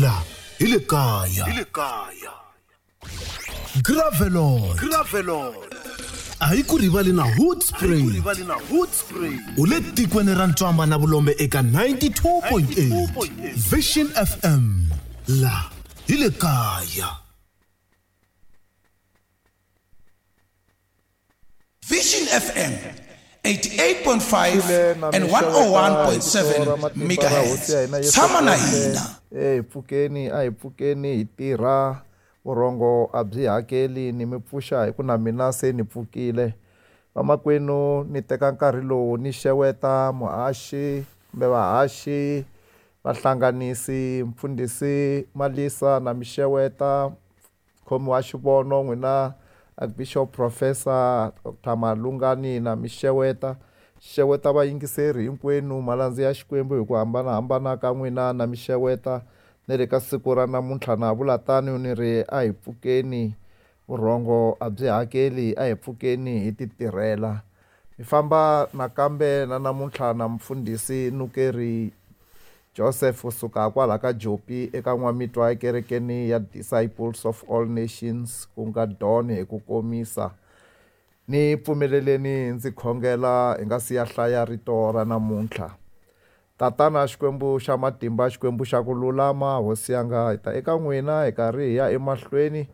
La hi le kaya. Hi le kaya. Gravelot. Gravelot. A hi ku rivali na Hoodspray. U le tikweni ra ntswamba na vulombe eka 92.8 Vision FM. La hi le kaya. Vision FM 88.5 and 101.7 megahertz. Tshama na hina. Hi pfukeni a hi pfukeni hi tirha vurhongo a byi hakeli ni mi pfuxa hi ku na mina se ni pfukile vamakwenu ni teka nkarhi lowu ni xeweta muhaxi kumbe vahaxi vahlanganisi mfundhisi Malisa na mi xeweta mukhomi wa xivono n'wina Archbishop Professor Dr Malungani na mi xeweta xeweta vayingiseri hinkwenu malandza ya Xikwembu hi ku hambanahambana ka n'wina na mi xeweta ni ri ka siku ra namuntlha na vula tano ni ri a hi pfukeni vurhongo a byi hakeli a hi pfukeni hi ti tirhela hi famba nakambe na namuntlha na mfundhisi Nukeri Joseph kusuka kwala ka Jopi eka N'wamitwa ekerekeni ya Disciples of All Nations ku nga Don hi ku komisa ni pfumeleleni ndzi khongela hi nga si ya hlaya rito ra namuntlha Tatana Xikwembu xa matimba Xikwembu xa ku lulama hosi yanga hi ta eka n'wina hi karhi hi ya emahlweni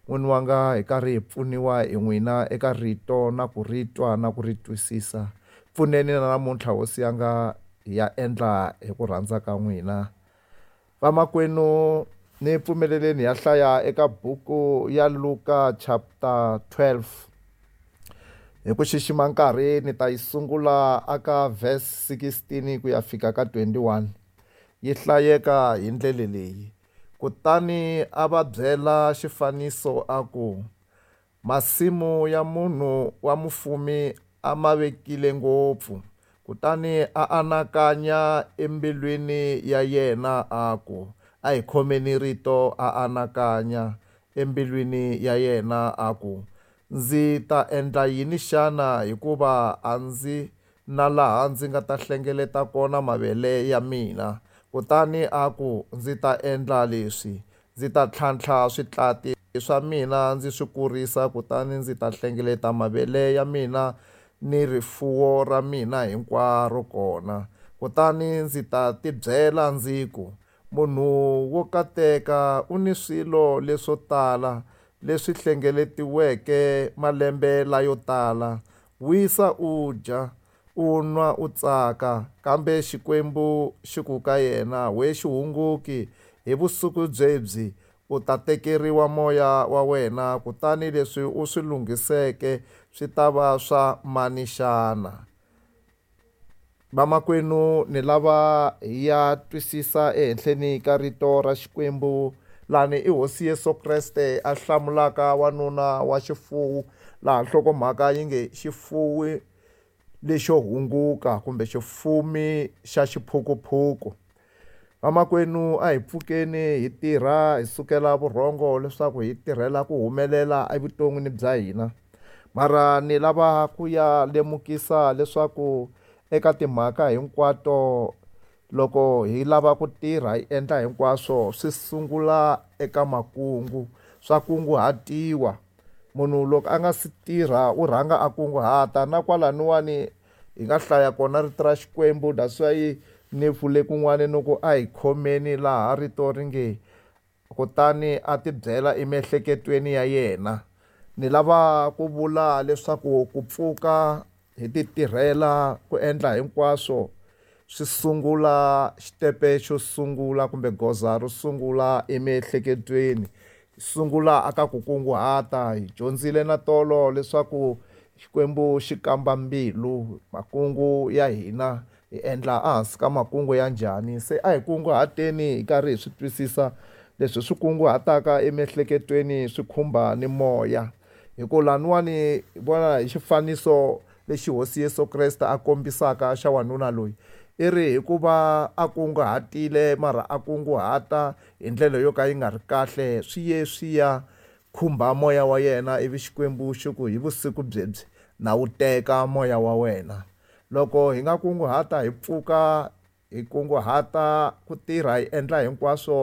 n'wini wanga hi karhi hi pfuniwa hi n'wina eka rito na ku ri twa na ku ri twisisa pfuneni na namuntlha hosi yanga hi ya endla hi ku rhandza ka n'wina vamakwenu ni pfumeleleni ya hlaya eka buku ya Luka chapter 12 hi ku xixima nkarhi ni ta yi sungula aka verse 16 ku ya fika ka 21 yi hlayeka hi ndlela leyi kutani a va byela xifaniso a ku masimu ya munhu wa mufumi a ma vekile ngopfu kutani a anakanya embilwini ya yena a ku a hi khomeni rito a anakanya embilwini ya yena a ku ndzi ta endla yini xana hikuva a ndzi na laha ndzi nga ta hlengeleta kona mavele ya mina kutani a ku ndzi ta endla leswi ndzi ta tlhantlha switlati swa mina ndzi swi kurisa kutani ndzi ta hlengeleta mavele ya mina ni rifuwo ra mina hinkwaro kona kutani ndzi ta tibyela ndzi ku munhu wo kateka u ni swilo leswo tala leswi hlengeletiweke malembe layo tala wisa u dya u nwa u tsaka kambe Xikwembu xi ku ka yena we xihunguki hi vusiku byebyi u ta tekeriwa moya wa wena kutani leswi u swi lunghiseke swi ta va swa mani xana vamakwenu ni lava hi ya twisisa ehenhleni ka rito ra Xikwembu lani i hosi Yesu Kreste a hlamulaka wanuna wa xifuwo laha nhlokomhaka yi nge xifuwi lexo hunguka kumbe xifumi xa xiphukuphuku vamakwenu a hi pfukeni hi tirha hi sukela vurhongo leswaku hi tirhela ku humelela evuton'wini bya hina mara ni lava ku ya lemukisa leswaku eka timhaka hinkwato loko hi lava ku tirha hi endla hinkwaswo swi sungula eka makungu swa kunguhatiwa munhu loko a nga si tirha u rhanga a kunguhata na kwalaniwani hi nga hlaya kona rito ra Xikwembu that's why ni vule kun'wana ni ku a hi khomeni laha rito ri nge kutani a tibyela emiehleketweni ya yena ni lava ku vula leswaku ku pfuka hi ti tirhela ku endla hinkwaswo swi sungula xitepe xo sungula kumbe goza ro sungula emiehleketweni sungula aka ku kunguhata hi dyondzile na tolo leswaku Xikwembu xi kamba mbilu makungu ya hina hi endla ehansi ka makungu ya njhani se a hi kunguhateni hi karhi hi swi twisisa leswi swi kunguhataka emiehleketweni swi khumba ni moya hi ku laniwani hi vona hi xifaniso lexi hosi Yesu Kreste a kombisaka xa wanuna loyi i ri hikuva a kunguhatile mara a kunguhata hi ndlela yo ka yi nga ri kahle swi ye swi ya khumba moya wa yena ivi Xikwembu xi ku hi vusiku byebyi na wu teka moya wa wena loko hi nga kunguhata hi pfuka hi kunguhata ku tirha hi endla hinkwaswo